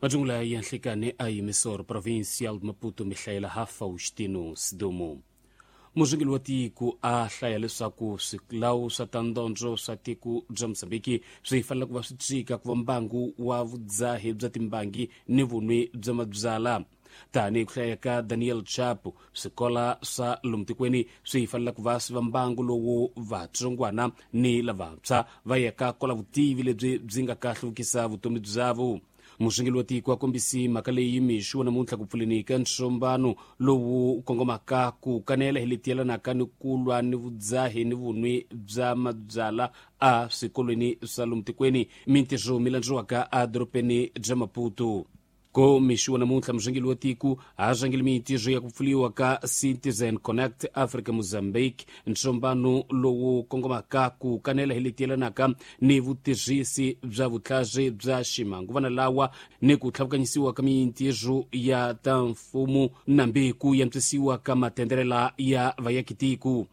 Majungula ya nhlikani a emissor provincial de Maputo mihlayela ha Faustino Sidumo. Murhangeri wa tiko a hlaya leswaku swilawu swa ta ndondzo swa tiko bya Mozambiki swi fanele ku va swi tshika ku va mbangu wa vudzahi bya timbangi ni vunwi bya mabyala. Tanihi ku hlaya ka Daniel Chapo, swikola swa lomu tikweni swi fanele ku va swi va mbangu lowu vatsongwana ni lavantshwa va yaka kola vutivi lebyi byi nga ka hluvukisa vutomi byavo. Murhangeri wa tiko a kombisi mhaka leyi mixo wa namuntlha ku pfuleni ka ntsombano lowu kongomaka ku kanela hi leti yelanaka ni ku lwa ni vudzahi ni vunwi bya mabyala a swikolweni swa lomu tikweni, mintirho mi landziwaka edorobeni bya Maputo. Ko mixo wa namuntlha murhangeri wa tiko a rhangele mintirho ya ku pfuriwa ka Citizen Connect Africa Mozambique, ntsombano lowu kongomaka ku kanela hi leti yelanaka ni vutirhisi bya vutlhari bya ximanguvana lawa ni ku tlhavukanyisiwa ka mintirho ya ta mfumo nambi ku yantswisiwa ka matenderela ya vayakitiko.